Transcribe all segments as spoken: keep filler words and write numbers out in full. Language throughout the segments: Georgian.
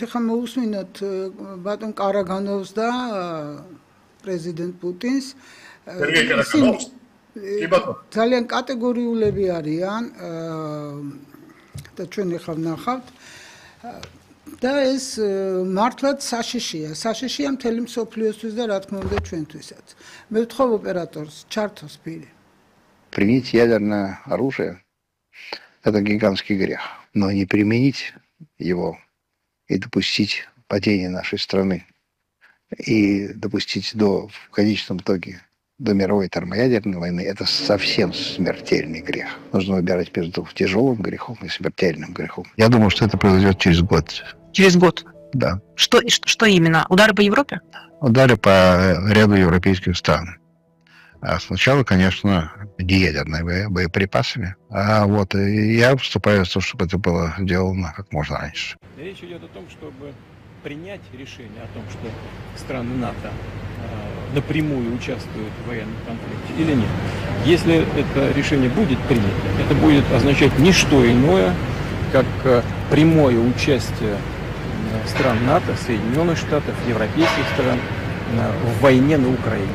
ეხლა მოусმინოთ ბატონ კარაგანოვს და პრეზიდენტ პუტინს. ძალიან კატეგორიულები არიან და ჩვენ ახლა ვნახავთ და ეს მართლაც საშიშია. საშიშია მთელი მსოფლიოსთვის და რა თქმა უნდა ჩვენთვისაც. მე ვთხოვ ოპერატორს ჩართოს პირი. Применить ядерное оружие – это гигантский грех, но не применить его и допустить падения нашей страны и допустить до, в конечном итоге до мировой термоядерной войны – это совсем смертельный грех. Нужно выбирать между тяжелым грехом и смертельным грехом. Я думаю, что это произойдет через год. Через год? Да. Что, что именно? Удары по Европе? Удары по ряду европейских стран. А сначала, конечно, неядерными боеприпасами. А вот я вступаю в то, чтобы это было сделано как можно раньше. Речь идет о том, чтобы принять решение о том, что страны НАТО э, напрямую участвуют в военном конфликте или нет. Если это решение будет принято, это будет означать не что иное, как э, прямое участие э, стран НАТО, Соединенных Штатов, европейских стран э, в войне на Украине.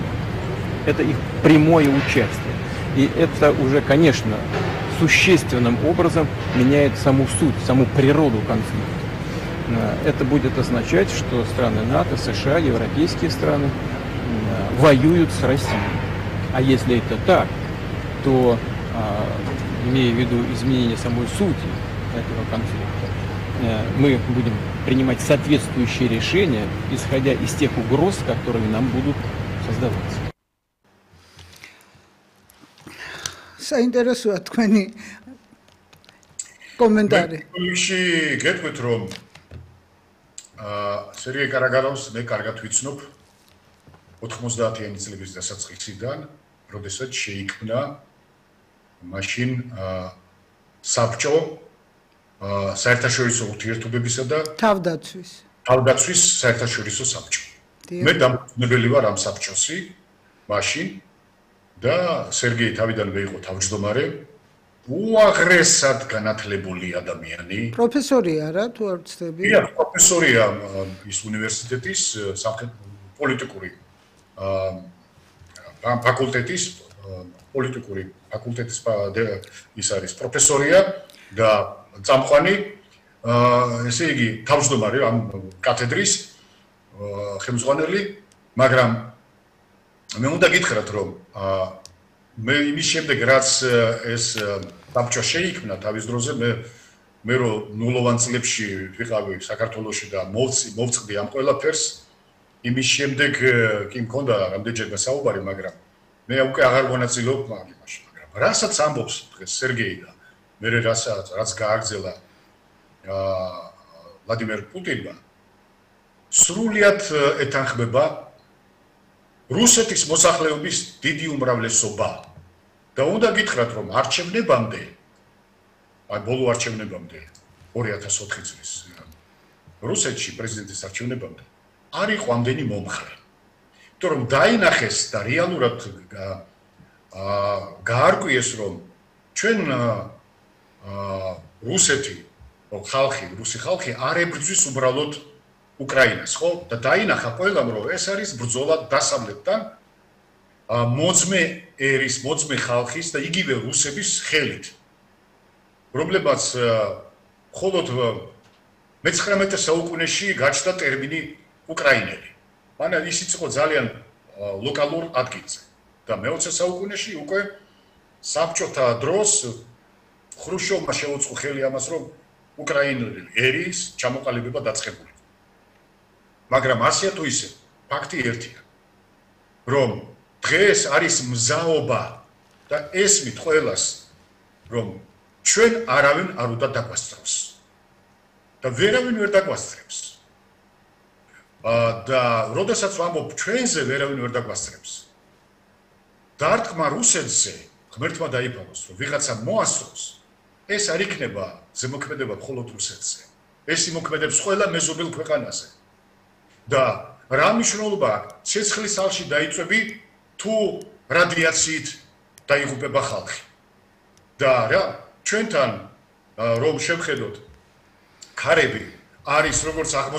Это их прямое участие. И это уже, конечно, существенным образом меняет саму суть, саму природу конфликта. Это будет означать, что страны НАТО, США, европейские страны воюют с Россией. А если это так, то, имея в виду изменение самой сути этого конфликта, мы будем принимать соответствующие решения, исходя из тех угроз, которые нам будут создаваться. საინტერესოა თქვენი კომენტარი. ისე გეტყვით რომ აა სერგეი კარაგანოვს მე კარგად ვიცნობ ოთხმოცდაათიანი წლების დასაწყისიდან, როდესაც შეიქმნა მაშინ აა საბჭო აა საერთაშორისო ურთიერთობებისა და თავდაცვის თავდაცვის საერთაშორისო საბჭო. მე დამფუძნებელი ვარ ამ საბჭოსი მაშინ და სერგეი თავიდან მე იყო თავმჯდომარე, უაღრესად განათლებული ადამიანი. პროფესორია რა, თუ არ ვცდები? კი, პროფესორია ის უნივერსიტეტის პოლიტიკური აა ფაკულტეტის პოლიტიკური ფაკულტეტის ის არის პროფესორია და წამყვანი აა ესე იგი თავმჯდომარე ამ კათედრის ხელმძღვანელი, მაგრამ მე უნდა გითხრათ რომ მე იმის შემდეგ რაც ეს საბჭო შეიქმნა თავის დროზე მე მე რომ ნულოვან წლებში ვიყავი საქართველოში და მოვწყდი ამ ყველაფერს იმის შემდეგ კი მქონდა რამდენჯერმე საუბარი მაგრამ მე უკვე აღარ მონაწილეობ მაგაში მაგრამ რასაც ამბობს დღეს სერგეი და მე რასაც რაც გააგრძელა აა ვლადიმერ პუტინმა სრულიად ეთანხმება რუსეთის მოსახლეობის დიდი უმრავლესობა და უნდა გითხრათ რომ არჩევნებამდე აი ბოლო არჩევნებამდე ორი ათას ოთხი წლის რუსეთში პრეზიდენტის არჩევნებამდე არ იყო ამდენი მომხრე. იმიტომ რომ დაინახეს და რეალურად აა გაარკვიეს რომ ჩვენ აა რუსეთი ხალხი, რუსი ხალხი არ ებრძვის უბრალოდ უკრაინას, ხო? და დაინახა ყველამ რომ ეს არის ბრძოლა დასავლეთთან მოძმე ერის, მოძმე ხალხის და იგივე რუსების ხელით. რომლებაც მხოლოდ მეცხრამეტე საუკუნეში გაჩნდა ტერმინი უკრაინელი. მანამ ისიც იყო ძალიან ლოკალურ ადგილზე. და მეოცე საუკუნეში უკვე საბჭოთა დროს ხრუშჩოვმა შეუწყო ხელი ამას რომ უკრაინელი ერის ჩამოყალიბება დაწყებული. მაგრამ ასია თუ ისე ფაქტი ერთია რომ დღეს არის მზაობა და ესმით ყველას რომ ჩვენ არავინ არ უნდა დაგვასწროს და ვერავინ ვერ დაგვასწრებს და როდესაც ვამბობ ჩვენზე ვერავინ ვერ დაგვასწრებს დარტყმა რუსეთზე ღმერთმა დაიფაროს რომ ვიღაცა მოასწროს ეს არ იქნება ზემოქმედება მხოლოდ რუსეთზე ეს იმოქმედებს ყველა მეზობელ ქვეყანაზე და რა მნიშვნელობა ცეცხლის ალში დაიწვევი თუ რადიაციით დაიღუპება ხალხი და რა ჩვენთან რომ შევხედოთ ქარები არის როგორც აღმოსავლეთ